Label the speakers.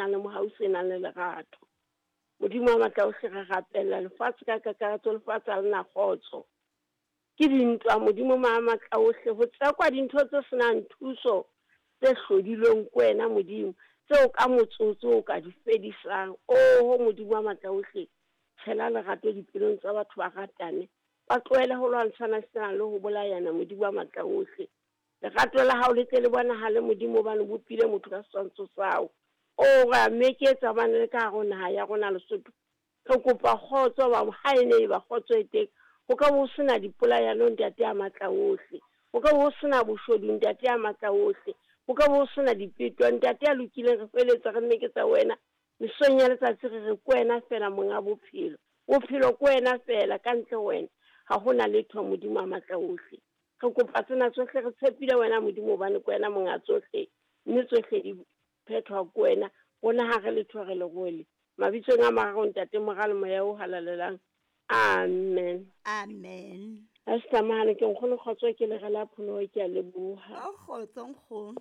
Speaker 1: nang le mohau, se nang le lerato. Modimo wa matla ohle, re rapella lefatshe ka kakaretso, lefatshe ha le na kgotso. Ke dintwa, Modimo ma matla ohle, ho tsekwa dintho tse senang thuso tse hlodilweng ke wena Modimo, tseo ka motsotso o ka di fedisang. Oho Modimo wa matla ohle, tshela lerato dipelong tsa batho, ba ratane, ba tlohele ho lwantshana sena le ho bolayana. Modimo wa matla ohle, lerato la hao le tle le bonahale Modimo, hobane o bopile motho ka setshwantsho sa hao. O re a meketsa hobane le ka hare ho naha ya rona Lesotho, re kopa kgotso, ba ha e ne e ba kgotso e teng, ho ka bo ho sena dipolayano, Ntate a matla ohle. Ho ka bo ho sena boshodu, Ntate a matla ohle. Ho ka bo ho sena dipeto, Ntate a lokileng. Re feletsa re meketsa wena mesong ya letsatsi, re re ke wena fela monga bophelo. Bophelo ke wena fela, ka ntle ho wena ha hona letho. Modimo a matla ohle, re kopa tsena tsohle re tshepile wena Modimo, hobane ke wena monga tsohle, mme tsohle di phethwa ke wena. Rona ha re letho, re lerole. Mabitsong a mararo, Ntate, Mora le Moya o Halalelang, amen.
Speaker 2: Amen.
Speaker 1: A se tlamahane ke nkgono, kgotso, ke lere la pholoho, ke a leboha.
Speaker 2: O kgotso nkgono.